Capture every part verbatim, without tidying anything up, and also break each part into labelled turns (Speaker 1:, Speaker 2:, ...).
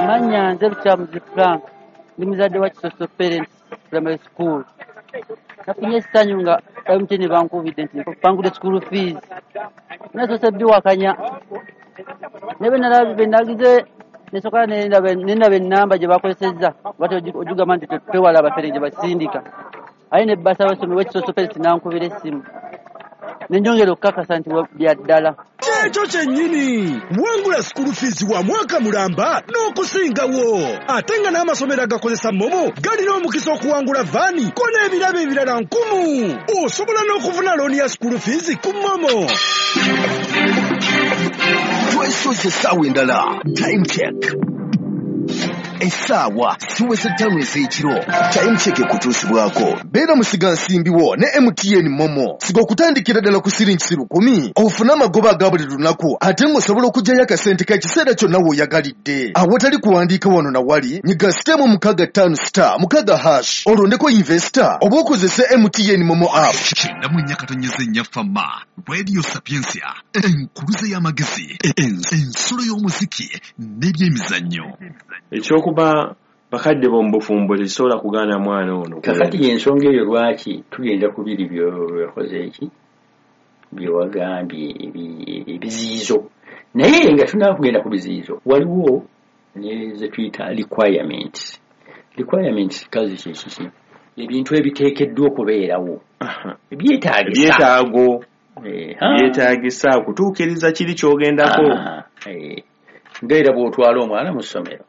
Speaker 1: Amannya nze Lukyamuzi Frank, ndi muzadde wa Kisoso Parents Primary School. Nafunye essanyu nga M T N bankubidde nti mpangudde school fees. Nasoose biwakanya. Naye bwe nalabye bwe nagize nesooka ne ndaba ennamba gye bakozesezza oba ogigamba nti twewala abafere gye basindika. Aye ne bbasa abasomi w'e Kisoso Parents n'ankubira essimu. Ne nnyongera okukakasa nti bya ddala.
Speaker 2: Ekyo kyennyini wangula school fees wa mwaka mulamba n'okusingawo, ate nga n'amasomero agakozesa MoMo galina omukisa okuwangula vaani ko n'ebirabo ebirala nkumu. Osobola n'okufuna looni ya school fees ku MoMo.
Speaker 3: Twesoze essaawa endala. Time check. Essaawa ziweze ttaano ez'ekiro. Time check ekutuusibwako. Beera musigansimbi wo ne M T N MoMo. Siga okutandikira ddala ku siringi lukumi ofune amagoba aga buli lunaku, ate ng'osobola okuggyayo akasente k'ekiseera kyonna w'oyagalidde. Awatali kuwandiika wano na wali, nyiga sitemu mukaaga ttaano star mukaaga hash olondeko investor oba okozese M T N MoMo app.
Speaker 4: Kyenda mu nnya katonyeze nnya Fama, Radio Sapientia, enkuluze y'amagezi, ensulo y'omuziki n'ebyemizannyo.
Speaker 5: Ekyokuba bakadde bo mu bufumbo tekisobola kugaana mwana ono.
Speaker 6: Kakati y'ensonga eyo lwaki tugenda ku biri byokoze eki byewagambye ebiziyizo, naye nga tunaba kugenda ku biziyizo waliwo ne ze tuyita requirements. Requirements kazi kyekiki? Ebintu ebiteekeddwa okubeerawo ebyetaagisa,
Speaker 5: ebyetaago byetaagisa kutuukiriza kiri ky'ogendako.
Speaker 6: Nga era bw'otwala omwana mu ssomero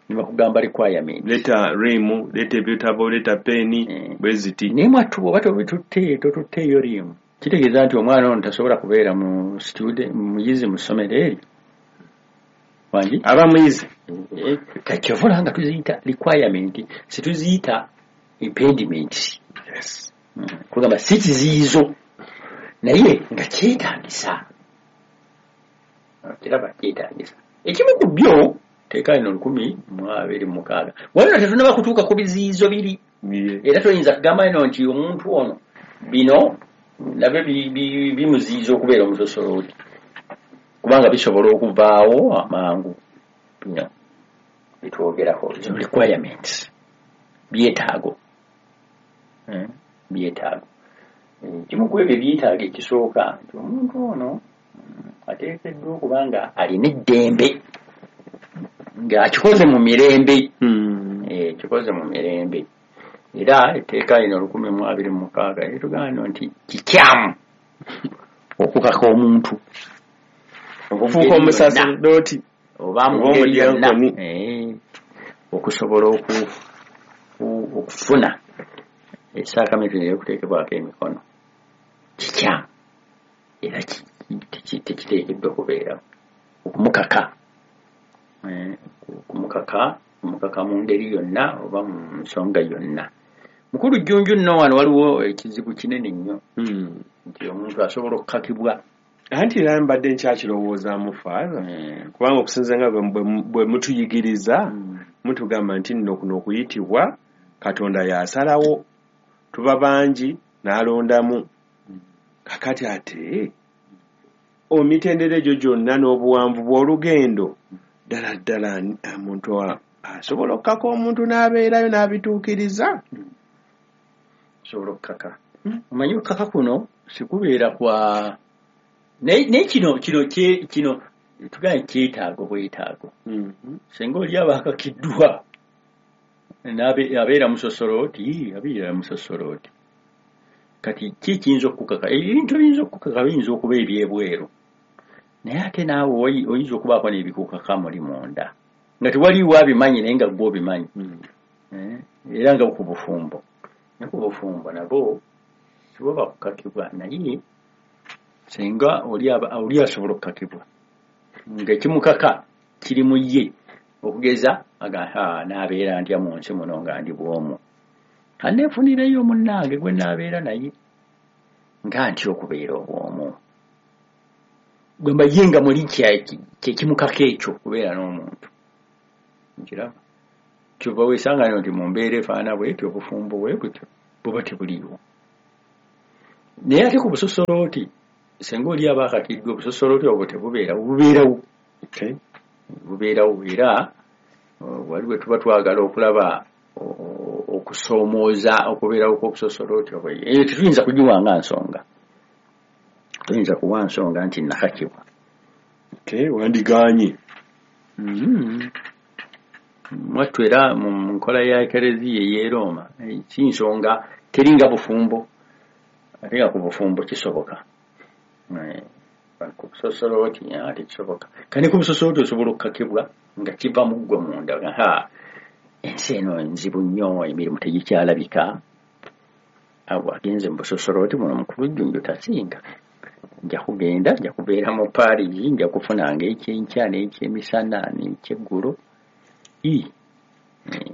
Speaker 6: nibakugamba requirement,
Speaker 5: leta rimu, leta ebitabo, leta peni, bwe ziti.
Speaker 6: Naye mwattu bw'oba tobitutte totutteeyo rimu, kitegeeza nti omwana ono tasobola kubeera mu student muyizi mu ssomero eryo. Wangi
Speaker 5: aba muyizi
Speaker 6: kakyovula nga tuziyita requirement, situziyita impediment.
Speaker 5: Yes.
Speaker 6: Kugamba si kiziyizo naye nga kyetaagisa, kiraba kyetaagisa. Ekimu ku byo teeka lino lukumi mu abiri mu mukaaga. Waliwo tetunnaba kutuuka ku biziyizo biri, era toyinza kugamba ino nti omuntu ono bino nabyo bimuziyiza okubeera omusosolooti, kubanga bisobola okuvaawo amangu. Bino bitwogerako zino requirements, byetaago, byetaago. Kimu ku ebyo ebyetaago ekisooka nti omuntu ono ateekeddwa okuba nga alina eddembe, ng'akikoze mu mirembe, kikoze mu mirembe. Era etteeka lino lukumi mu abiri mu mukaaga litugamba nti kikyamu okukaka omuntu
Speaker 5: okufuuka omusaserdooti
Speaker 6: oba mu ngeri yonna okusobola okufuna esaakamenti ey'okuteekebwako emikono. Kikyamu era tekiteekeddwa kubeerawo okumukaka okumukaka okumukaka mu ngeri yonna oba mu nsonga yonna. Mukulu Jjunju nno wano waliwo ekizibu kinene nnyo nti omuntu asobola okukakibwa.
Speaker 5: Anti era mbadde nkyakirowoozaamu Faaza, kubanga okusinziira nga bwe mutuyigiriza mutugamba nti nno kuno okuyitibwa Katonda y'asalawo, tuba bangi n'alondamu. Kakati ate emitendera egyo gyonna n'obuwanvu bw'olugendo ddala ddala omuntu asobola okukaka omuntu n'abeerayo n'abituukiriza.
Speaker 6: Osobola okukaka. Omanyi okukaka kuno sikubeera kwa naye kino kino kino tugambe kyetaago bwetaago. Singa oli aba akakiddwa abeera musosolooti, abeera musosolooti. Kati ki kiyinza okukaka? Ebintu ebiyinza okukaka biyinza okuba ebyebweru, naye ate naawe oyinza okubaako n'ebikukaka muli munda nga tewaliwo abimanyi naye nga ggwe obimanyi. Era nga ku bufumbo, ne ku bufumbo nabo sibo bakukakibwa, naye singa oli asobola okukakibwa ng'ekimukaka kiri mu ye. Okugeza naabeera ntya mu nsi muno nga ndi bw'omu, aneefunireyo munnange gwe naabeera naye nga ntya okubeera obw'omu. Gwe mba ye nga muli kyekimukaka ekyo okubeera n'omuntu. Nkiraba kyova weesanga nti mu mbeera efaanana bw'etyo obufumbo bwe butyo buba tebuliiwo. Naye ate ku busosolooti singa oli aba akakiddwa, obusosolooti obwo tebubeerawo, bubeerawo bubeerawo. Era Waliwo tuba twagala okulaba okusoomooza okubeerawo kw'obusosodooti obwo, eyo tetuyinza kugiwa nga nsonga, tuyinza kuwa nsonga nti nakakibwa.
Speaker 5: Okay, wandigaanye.
Speaker 6: Mwattu era mu nkola ya Ekereziya ey'e Rooma si nsonga, teringa bufumbo, ate nga ku bufumbo kisoboka. Ku busosodooti tekisoboka. Kane ku busosodooti osobola okukakibwa nga kiva mu ggwe munda. Ha, ensi eno nzibu nnyo, emirimu tegikyalabika. Abo agenze mu busosodooti buno mukulu Jjunju tasinga. Nja kugenda, nja kubeera mu Paris, nja kufunanga ekyenkya n'ekyemisana n'ekyeggulo.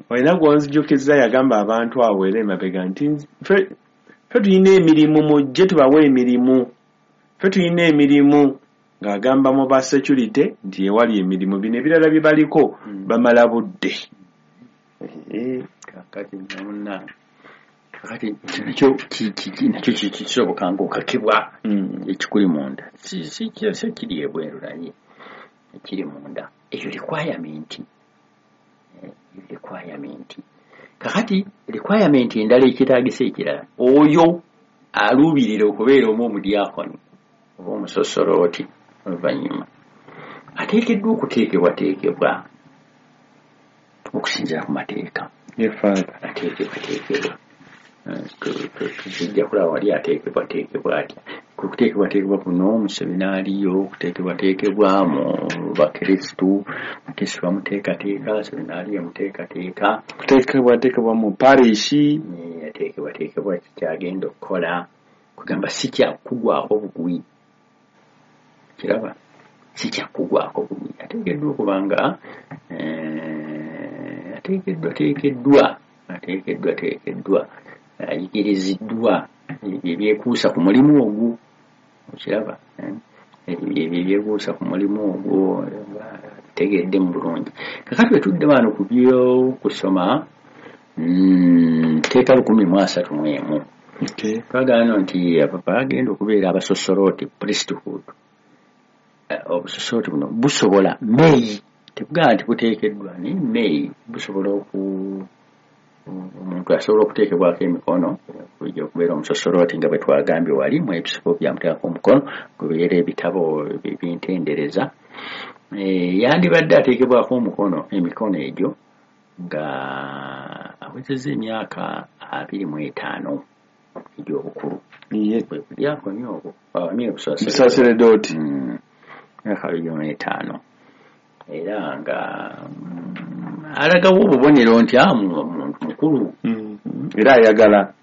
Speaker 5: Olina gw'onzijukizza yagamba abantu awo era emabega nti ffe tulina emirimu, mujje tubawe emirimu, ffe tulina emirimu, ng'agamba mu ba security nti ewali emirimu, bino ebirala bye baliko bamala budde.
Speaker 6: Kakati munna, kakati nakyo nakyo kisoboka ng'okakibwa ekikuli munda, si kiri ebweru naye ekiri munda. Eyo requirement, requirement. Kakati requirement endala ekyetaagisa ekirala, oyo aluubirira okubeera omu omudyakoni oba omusosolooti oluvannyuma ateekeddwa okuteekebwateekebwa okusinziira ku mateeka. Ateekebwateekebwa, tujja kulaba wali ateekebwateekebwa atya. Kuteekebwateekebwa kuno mu seminaariyo, okuteekebwateekebwa mu bakristu, mukristu bamuteekateeka, seminaariyo emuteekateeka,
Speaker 5: kuteekebwateekebwa mu parishi,
Speaker 6: ateekebwateekebwa kikyagenda okukola. Kugamba si kyakugwako bugwi, kiraba si kyakugwako bugwi. Ateekeddwa okuba nga ateekeddwa teekeddwa ateekeddwa teekeddwa ayigiriziddwa ebyekuusa ku mulimu ogwo, okiraba ebyo ebyekuusa ku mulimu ogwo tegedde mu bulungi. Kakati bwe tudde wano ku by'okusoma, tteeka lukumi mu asatu mu emu twagala nti bagenda okubeera abasosolooti, priesthood. Obusosolooti buno busobola meeyi, tebugamba nti buteekeddwa, naye meeyi busobola oku omuntu asobola okuteekebwako emikono okujja okubeera omusosolooti nga bwe twagambye wali mu episkopi yamuteekako omukono kubeera ebitabo ebintendereza. Yandibadde ateekebwako omukono emikono egyo nga awezezza emyaka abiri mu etaano egy'obukulu. Bwe budyakoni obwo,
Speaker 5: busaseredooti,
Speaker 6: emyaka abiri mu etaano, era nga alagawo obubonero nti muntu mukulu
Speaker 5: era ayagala.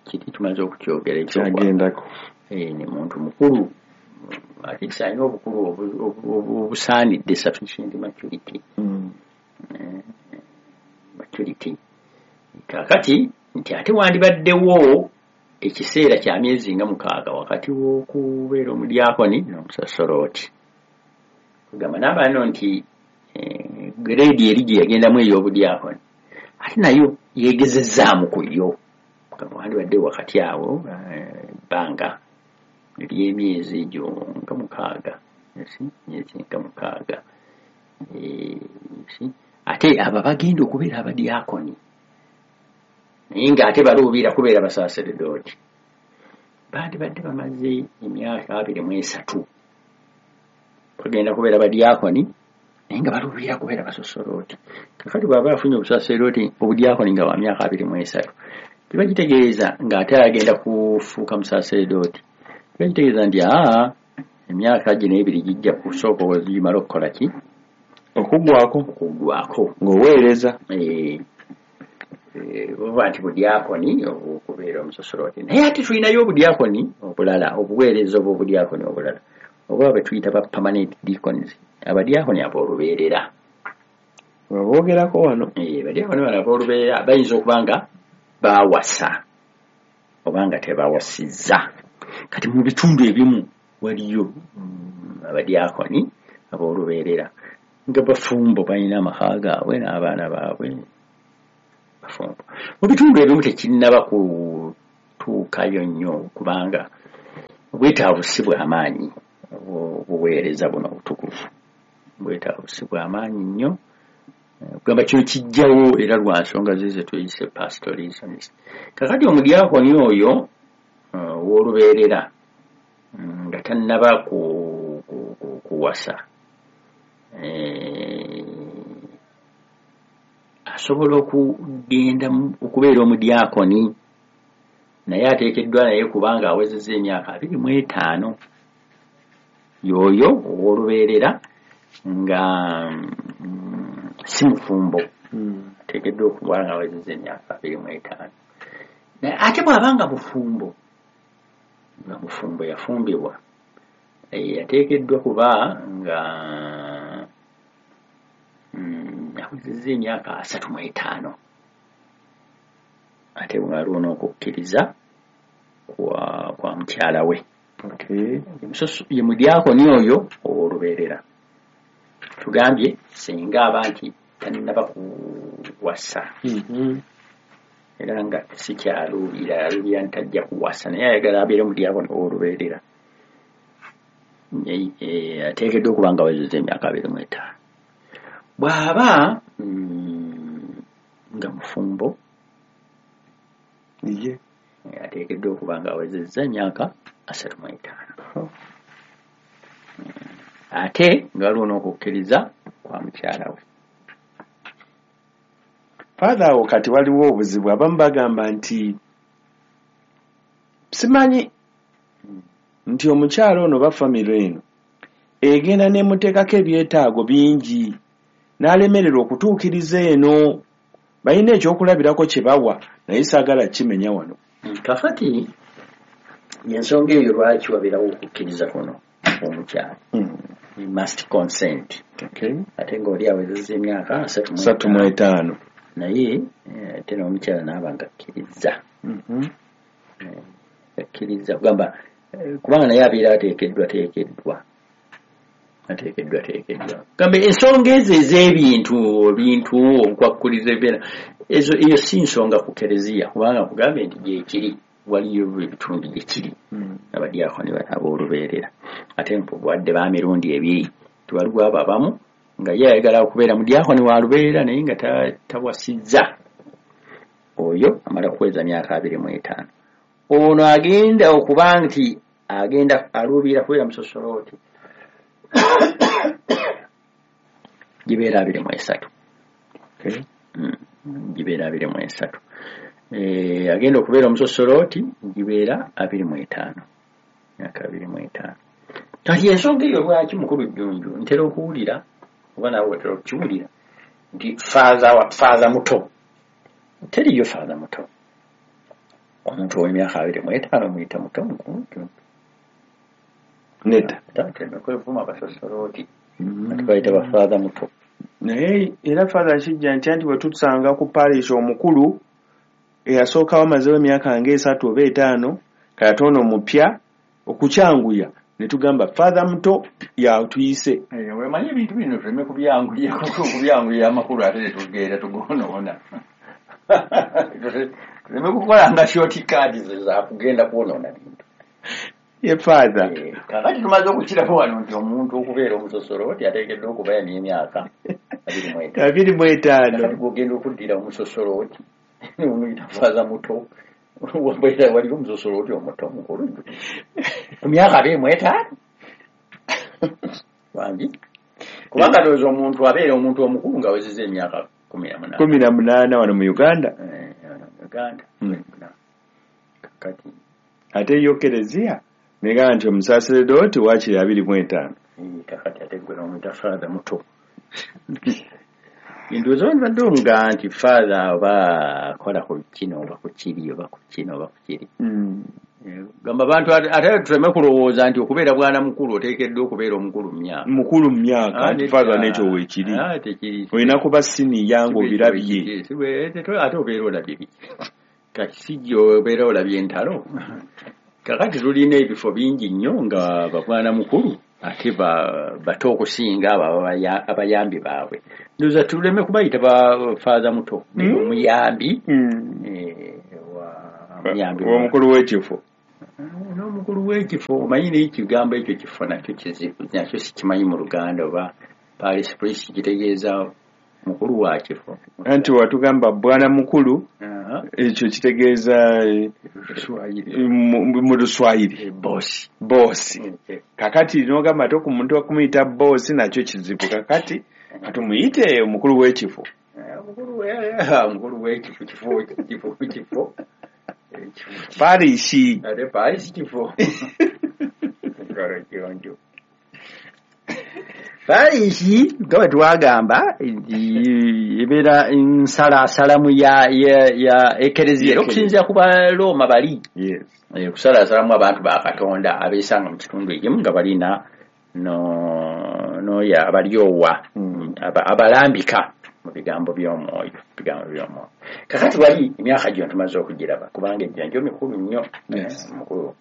Speaker 6: Kiri tumaze okukyogera
Speaker 5: ekyagendako,
Speaker 6: ni muntu mukulu, ate alina obukulu obusaanidde, sufficient maturity, maturity. Kakati nti ate wandibaddewo ekiseera kya myezi nga mukaaga wakati w'okubeera omudyakoni n'omusasolooti. Kugamba n'abaano nti grade eri gye yagendamu ey'obudyakoni ate nayo yeegezezzaamu ku yo. Kugamba wandibadde wakati awo ebbanga ery'emyezi egyo nga mukaaga, myezi nga mukaaga. Ate abo bagenda okubeera abadyakoni naye ng'ate baluubira kubeera basaseredooti, bandibadde bamaze emyaka abiri mu esatu bagenda kubeera badyakoni naye nga baluubira kubeera basosolooti. Kakati bw'aba afunye obusaseredooti obudyakoni nga wa myaka abiri mu esatu, kiba kitegeeza ng'ate agenda kufuuka musaseredooti, kiba kitegeeza nti aa emyaka gino ebiri gijja kusooka ogimala okukola ki,
Speaker 5: okuggwako,
Speaker 6: okuggwako
Speaker 5: ng'oweereza
Speaker 6: oba nti budyakoni okubeera omusosolooti. Naye ate tulinayo obudyakoni obulala, obuweereza oba obudyakoni obulala oba bwe tuyita ba permanent deacons, abadyakoni ab'olubeerera.
Speaker 5: Baboogerako wano.
Speaker 6: Abadyakoni bano ab'olubeerera bayinza okuba nga baawasa oba nga tebawasizza. Kati mu bitundu ebimu waliyo abadyakoni ab'olubeerera nga bafumbo, balina amaka gaabwe n'abaana baabwe bafumbo. Mu bitundu ebimu tekinnaba kutuukayo nnyo kubanga obwetaavu si bw'amaanyi, obuweereza buno obutukuvu bwetaavu si bw'amaanyi nnyo. Kugamba kino kijjawo era lwa nsonga ze ze tuyise pastoral reasons. Kakati omudyakoni oyo ow'olubeerera nga tannaba kuwasa asobola okugenda okubeera omudyakoni, naye ateekeddwa naye kubanga awezezza emyaka abiri mu etaano. Y'oyo ow'olubeerera nga si mufumbo, ateekeddwa okuba nga awezezza emyaka abiri mu etaano. Naye ate bw'aba nga mufumbo, nga mufumbo yafumbibwa, ateekeddwa kuba nga awezezza emyaka asatu mu etaano, ate waliwo n'okukkiriza kwa kwa mukyala we. Ye mudyakoni oyo ow'olubeerera. Tugambye singa aba nti tannaba kuwasa, era nga sikyaluubira, aluubira nti tajja kuwasa, naye ayagala abeere mudyakoni ow'olubeerera, ateekeddwa okuba nga awezezza emyaka abiri mu etaano. Bw'aba nga mufumbo,
Speaker 5: ye
Speaker 6: ateekeddwa okuba nga awezezza emyaka asatu mu etaano, ate nga waliwo n'okukkiriza kwa mukyala we.
Speaker 5: Father, awo kati waliwo obuzibu. Abamu bagamba nti simanyi nti omukyala ono oba famire eno egenda n'emuteekako ebyetaago bingi n'alemererwa okutuukiriza eno. Balina ekyokulabirako kye bawa, naye saagala kimenya wano.
Speaker 6: Kakati ensonga eyo lwaki wabeerawo okukkiriza kuno omukyala, he must consent. Ate ng'oli awezezza emyaka asatu
Speaker 5: mu etaano,
Speaker 6: naye ate n'omukyala n'aba nga akkiriza, akkiriza kugamba kubanga naye abeera ateekeddwa teekeddwa ateekeddwa teekeddwa. Gambe ensonga ezo ez'ebintu ebintu obukwakkuliza ebibeera ezo, eyo si nsonga ku kereziya, kubanga kugambe nti gyekiri, waliyo ebitundu gyekiri abadyakoni ab'olubeerera, ate wadde ba mirundi ebiri. Tiwaliwo abo abamu nga ye ayagala okubeera mudyakoni wa lubeerera naye nga tawasizza, oyo amala kuweza myaka abiri mu etaano. Ono agenda okuba nti agenda aluubirira kubeera musosolooti, gibeera abiri mu esatu, gibeera abiri mu esatu. Agenda okubeera omusosolooti gibeera abiri mu etaano, myaka abiri mu etaano. Kati ensonga eyo lwaki mukulu Jjunju ntera okuwulira oba naawe otera okukiwulira nti faaza muto. Teriyo faaza muto. Omuntu ow'emyaka abiri mu etaano muyita muto mukulu Jjunju?
Speaker 5: Nedda.
Speaker 6: Kwevuma abasosolooti ate bayita bafaaza muto.
Speaker 5: Naye era Father kijja nti anti bwe tutusanga ku parish omukulu eyasookawo amazeewo emyaka ng'esatu oba etaano, kati ono omupya okukyanguya ne tugamba Father muto yatuyise.
Speaker 6: Wemanyi ebintu bino tuleme kubyanguya, kubyanguya amakulu ate tetugenda tugonoona. Tuleme kukola nga short cards za kugenda kwonoona bintu.
Speaker 5: Ye Father,
Speaker 6: kakati tumaze okukiraba wano nti omuntu okubeera omusosolooti ateekeddwa okuba n'emyaka abiri
Speaker 5: mu etaano.
Speaker 6: Kakati gw'ogenda okuddira omusosolooti omuyita faaza muto, waliwo omusosolooti omuto mukulu ku myaka abiri mu etaano wangi, kubanga ndowooza omuntu abeera omuntu omukulu ng'awezezza emyaka kumi na munaana
Speaker 5: kumi na munaana wano mu Uganda.
Speaker 6: Uganda kakati
Speaker 5: ate yo kereziya negamba nti omusaseredooti waakiri abiri mu etaano.
Speaker 6: Kakati ate gwe n'omuyita Father muto. Ndowooza bandibadde omugaa nti Father oba akola ku kino oba ku kiri oba ku kino oba ku kiri. Gamba abantu ate tuleme kulowooza nti okubeera bwana mukulu oteekeddwa okubeera omukulu mu myaka.
Speaker 5: Mukulu mu myaka nti Father n'ekyo weekiri. Olina kuba siniya ng'obirabye.
Speaker 6: Ate obeera olabye biki? Kati si gy'obeera olabye entalo. Kakati tulina ebifo bingi nnyo nga babwana mukulu ate bato okusinga abo abayambi baabwe. Ndowooza tuleme kubayita ba Father muto, naye omuyambi
Speaker 5: omukulu w'ekifo.
Speaker 6: N'omukulu w'ekifo omanyi n'ekigambo ekyo kifo nakyo kizibu, nakyo sikimanyi mu Luganda oba parish priest kitegeeza Mukulu wa kifo.
Speaker 5: Anti watugamba bwana mukulu, ekyo kitegeeza mu Luswayiri.
Speaker 6: Bosi.
Speaker 5: Bosi. Kakati n'ogamba ate ku muntu okumuyita bosi nakyo kizibu. Kakati katumuyite omukulu w'ekifo.
Speaker 6: Omukulu w'ekifo, kifo, kifo, kifo.
Speaker 5: Parishi.
Speaker 6: Ate parishi kifo. Parishi nga bwe twagamba ebeera nsalaasalamu ya ya ekereziya okusinziira ku Balooma bali.
Speaker 5: Yes.
Speaker 6: Okusalaasalamu abantu ba Katonda abeesanga mu kitundu ekimu nga balina no noya abalyowa abalambika mu bigambo by'omwoyo, bigambo by'omwoyo. Kakati wali emyaka gyo tumaze okugiraba kubanga ejjanjo mikulu nnyo. Mukulu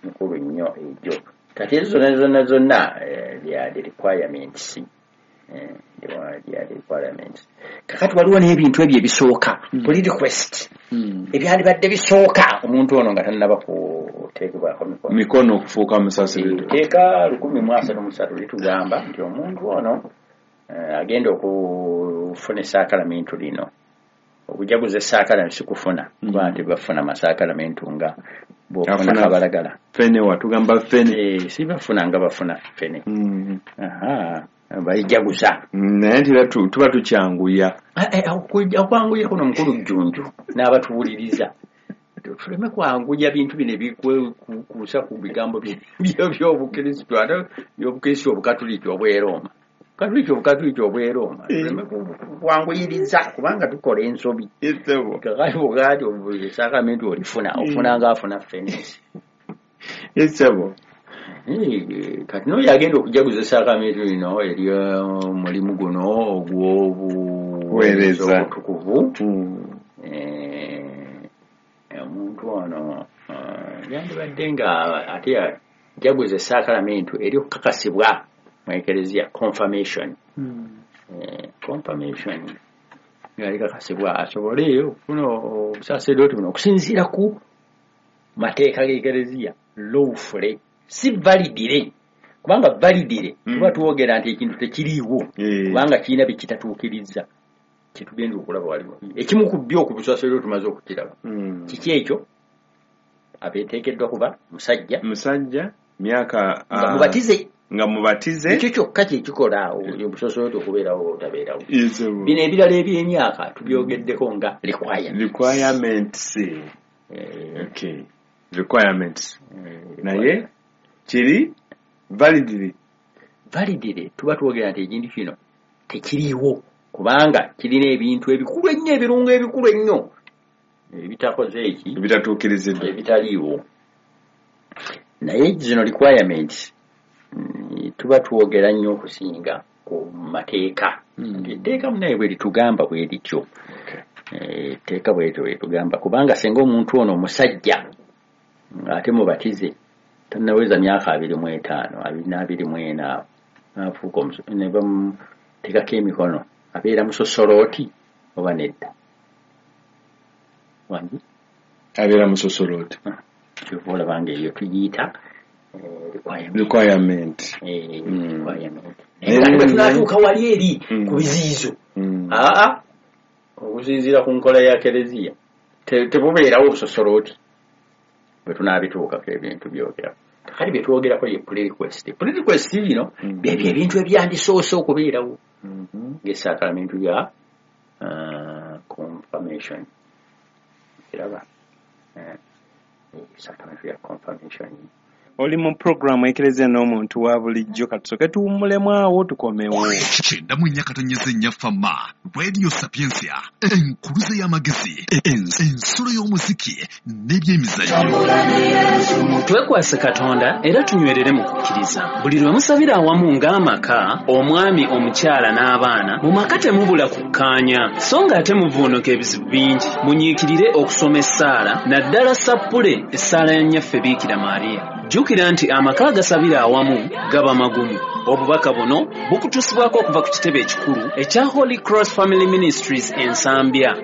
Speaker 6: mikulu nnyo egyo. Kati ezo zonna zonna zonna they the requirements. They are the requirements. Kakati waliwo n'ebintu ebyo ebisooka, buli request. Ebyandibadde bisooka omuntu ono nga tannaba kuteekebwako mikono.
Speaker 5: Mikono okufuuka musaserdooti.
Speaker 6: Etteeka lukumi mu asatu mu ssatu litugamba nti omuntu ono agenda okufuna essaakalamentu lino. Okujaguza essaakalamentu si kufuna, kuba nti bafuna amasaakalamentu nga bw'ofuna kabalagala.
Speaker 5: Ffene watugamba ffene.
Speaker 6: Eh, si bafuna nga bafuna ffene. Aha, bayijaguza.
Speaker 5: Naye nti era tuba tukyanguya.
Speaker 6: Okwanguya kuno mukulu Jjunju n'abatuwuliriza. Tuleme kwanguya bintu bino ebikwekuusa ku bigambo by'Obukristo ate by'Obukristo Obukatuliki obw'e Roma. Katuliki Obukatuliki obw'e Roma. Tuleme kwanguyiriza kubanga tukola ensobi. Kakati bw'ogamba nti essaakalamentu olifuna, ofuna ng'afuna ffene.
Speaker 5: Essebo.
Speaker 6: Kati n'oyo agenda okujaguza essaakalamentu lino ery'omulimu guno ogw'obuweereza obutukuvu. Omuntu ono yandibadde nga ate yajaguza essaakalamentu ery'okukakasibwa mu Ekereziya, confirmation. Confirmation nga likakasibwa asobole okufuna obusaserdooti buno okusinziira ku mateeka g'Ekereziya lawfully, si validire. Kubanga validire tuba twogera nti ekintu tekiriiwo kubanga kirina bye kitatuukiriza. Kyetugenda okulaba waliwo ekimu ku byo ku busaserdooti tumaze okukiraba. Kiki ekyo? Abeeteekeddwa kuba musajja.
Speaker 5: Musajja myaka
Speaker 6: nga mubatize.
Speaker 5: Nga mubatize.
Speaker 6: Ekyo kyokka kye kikola obusaserdooti okubeerawo oba obutabeerawo. Bino ebirala eby'emyaka tubyogeddeko nga requirements.
Speaker 5: Requirements. Okay. Requirements. Naye kiri validly.
Speaker 6: Validly tuba twogera nti ekintu kino tekiriiwo kubanga kirina ebintu ebikulu ennyo, ebirungo ebikulu ennyo ebitakoze eki
Speaker 5: ebitatuukiriziddwa,
Speaker 6: ebitaliiwo. Naye zino requirements tuba twogera nnyo okusinga ku mateeka. Etteeka munaye bwe litugamba bwe lityo. Etteeka bwe lityo bwe litugamba kubanga singa omuntu ono omusajja ate mubatize tannaweza myaka abiri mu etaano, abiri n'abiri mu ena n'afuuka ne bamuteekako emikono abeera musosolooti oba nedda? Wangi?
Speaker 5: Abeera musosolooti.
Speaker 6: Kyova olaba nga eyo tuyiyita requirement.
Speaker 5: Requirement.
Speaker 6: Requirement. Naye bwe tunaatuuka wali eri ku biziyizo, aa okusinziira ku nkola ya Kereziya tebubeerawo obusosolooti bwe tunaabituukako ebintu byogerako. Kakati bye twogerako ye pre-request. Pre-request bino byebyo ebintu ebyandisoose okubeerawo ng'essaakalamentu ya confirmation. Kiraba? Essaakalamentu ya confirmation.
Speaker 5: Oli mu programu Ekereziya n'omuntu wa bulijjo, katusooke tuwummulemu awo tukomewo.
Speaker 4: Kyenda mu nnya katonyeze nnya Fama, Radio Sapientia, enkuluze y'amagezi, ensulo y'omuziki n'ebyemizannyo.
Speaker 7: Twekwase Katonda era tunywerere mu kukkiriza. Buli lwe musabira awamu ng'amaka, omwami, omukyala n'abaana, mu maka temubula kukkaanya, so ng'ate muvuunuka ebizibu bingi. Munyiikirire okusoma essaala, naddala sappule essaala ya Nnyaffe Biikira Maria. Jjukira nti amaka agasabira awamu gaba magumu. Obubaka buno bukutuusibwako okuva ku kitebe ekikulu ekya Holy Cross Family Ministries e Nsambya.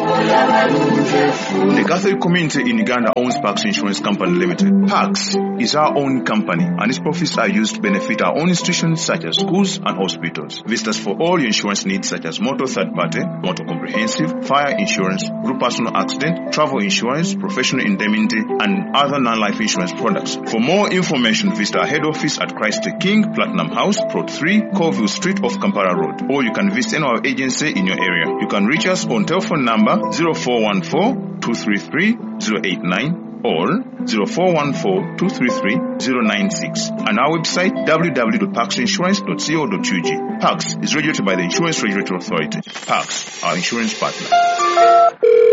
Speaker 8: The Catholic community in Uganda owns Pax Insurance Company Limited. Pax is our own company and its profits are used to benefit our own institutions such as schools and hospitals. Visit us for all your insurance needs such as motor third party, motor comprehensive, fire insurance, group personal accident, travel insurance, professional indemnity and other non-life insurance products. For more information, visit our head office at Christ the King, Platinum House, Plot three, Colville Street off Kampala Road. Or you can visit any of our agency in your area. You can reach us on telephone number zero four one four, two three three, zero eight nine or zero four one four, two three three, zero nine six and our website w w w dot pax insurance dot co dot u g. Pax is regulated by the Insurance Regulatory Authority. Pax, our insurance partner.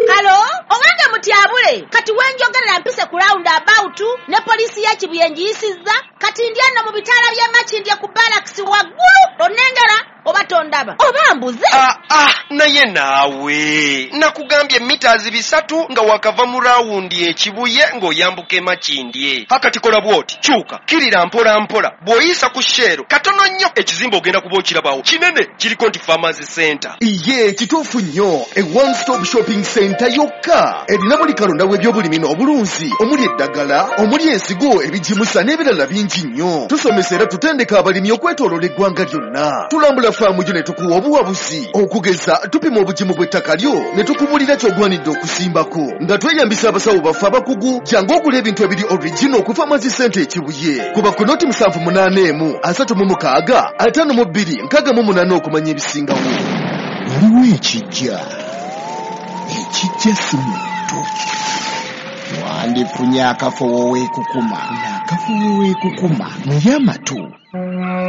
Speaker 9: Hello? Owange mutyabule kati wenjogerera mpise ku round about ne polisi ya Kibuye njiyisizza kati ndi ano mu bitaala bya Makindye ku barracks waggulu onengera oba tondaba oba mbuze.
Speaker 10: Ah, ah, naye naawe nakugambye mita bisatu nga wakava mu rawundi ekibuye ng'oyambuka Makindye. Hakati kola bw'oti kyuka kirira mpola mpola bw'oyisa ku Shell katono nnyo ekizimbe ogenda kuba okirabawo kinene kiriko nti Farmers Center.
Speaker 3: Iye kituufu nnyo, e one stop shopping center yokka erina buli kalonda w'ebyobulimi n'obulunzi omuli eddagala, omuli ensigo, ebigimusa n'ebirala bingi nnyo. Tusomesa era tutendeka abalimi okwetooloola eggwanga lyonna. Tulambula faamu gyo ne tukuwa obuwabuzi okugeza tupima obugimu bw'ettaka lyo ne tukubulira ky'ogwanidde okusimbako nga tweyambisa abasawo baffe abakugu. Jangu ogula ebintu ebiri original ku Farmers Center Ekibuye kuba ku noti musanvu munaana emu asatu mu mukaaga ataano mu bbiri nkaaga mu munaana okumanya ebisingawo.
Speaker 11: Waliwo ekijja ekijja si muntu wandifunye akafo weekukuma n'akafo weekukuma naye amatu.